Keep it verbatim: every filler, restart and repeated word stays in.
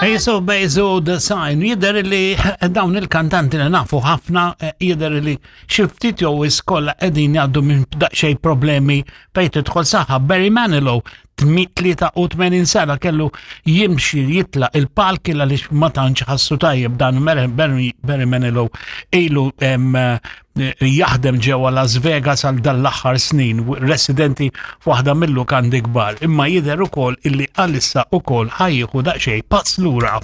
Ace of Base u The Sign, jidher li dawn il-kantanti li nafu ħafna, eh, jidher li xi ftit jew iskolla qegħdin jgħaddu minn daqsxejn problemi fejn tidħol saħħa. Barry Manilow, tlieta u tmenin sena, kellu jimxi jitla il-palk għaliex ma tantx ħassu tajjeb. Dan Barry Barry Manilow ilu em, eh, jaħdem ġewwa Las Vegas għal dan l-aħħar snin, residenti f'waħda mill-lukandi kbar, imma jidher ukoll illi għalissa ukoll ħa jieħu daqsxejn pass lura.